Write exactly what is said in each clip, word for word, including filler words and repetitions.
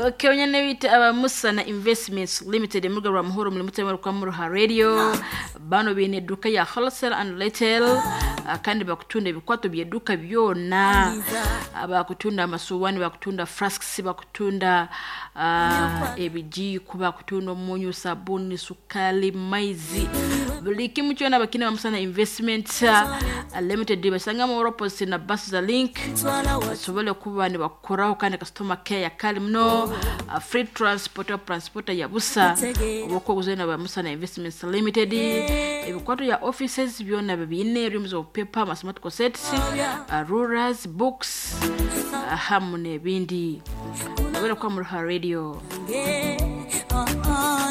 Okay, onyene bita aba Musana Investments Limited emuga rwa muhoro muri mutema rwa muruha radio. Bano bine eduka ya wholesale and retail, ah, kandi bakutunda ebikwato byeduka byona. Ah, bakutunda amasuwani, bakutunda flasks, bakutunda ah, ebijiiko, bakutunda omunyu, sabuni, sukali, maizi, buli kimu kyona bakina ba Musana Investment ah, Limited. Basanga mu opposite na bus za Link, basobole kuba nibakoraho, kandi customer care yakali muno. uh, free transport, transport ya busa obwokuguza na ba Musana Investments Limited. Ebikwato ya offices byona bibine, reams of paper, mathematical sets, uh, rulers, books, uh, hamu n'ebindi. Obere kwa Muruha Radio.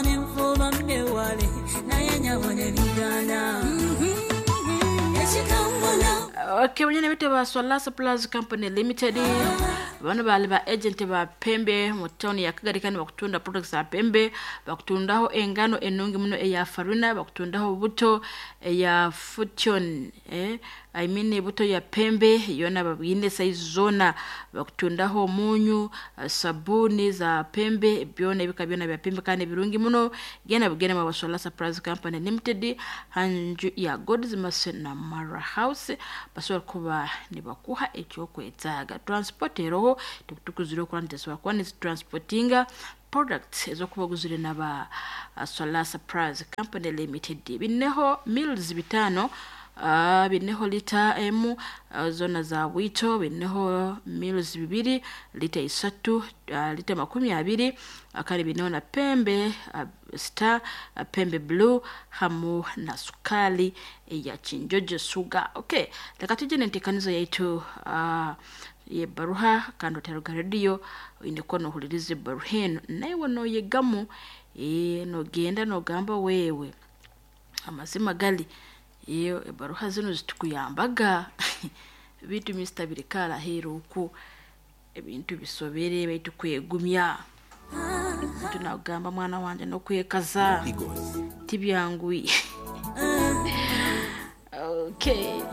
Nenfuba newale naye nyabona ebigana ekikambona. Okay, wenyene bite ba Swala Supplies Company Limited. Bano bali ba agent ba Pembe mu town ya Kagari, kandi bakutunda products za Pembe. Bakutundaho engano enungi muno eya farina, bakutundaho buto eya Fortune, eh I mean buto ya Pembe yona babine size zona. Bakutundaho omunyu, eh, sabuni za Pembe, byona ebika byona bya Pembe kandi birungi muno. Genda bugenda mu Swala Supplies Company Limited, hanju ya God's Mercy na Mara House, basobola kuba nibakuha ekyokwetaaga. Transport eroho, tukutukuzire okuba nitesobola kuba nizitransportinga products ezokuba oguzire naba uh, Solar Supplies Company Limited. Bineho mills bitano, uh, bineho lita emu uh, zona za bwito, bineho mills bibiri, lita isatu, uh, lita makumi abiri, uh, kandi bineho na Pembe uh, Star, uh, Pembe Blue hamu na sukali ya Chinjojo Sugar. Okay, leka tuje n'enteekanizo yaitu uh, yebaruha, kandi oteruga rediyo oine kuba nohuliriza ebaruha eno, naiwe noyegamu, eh, nogenda nogamba wewe amazima gali iyo ebaruha zino zitukuyambaga bitu misita birikara aheeru oku ebintu bisobere baitu kwegumya. Muntu nagamba mwana wanje nokwekaza tibyanguhi. Okay.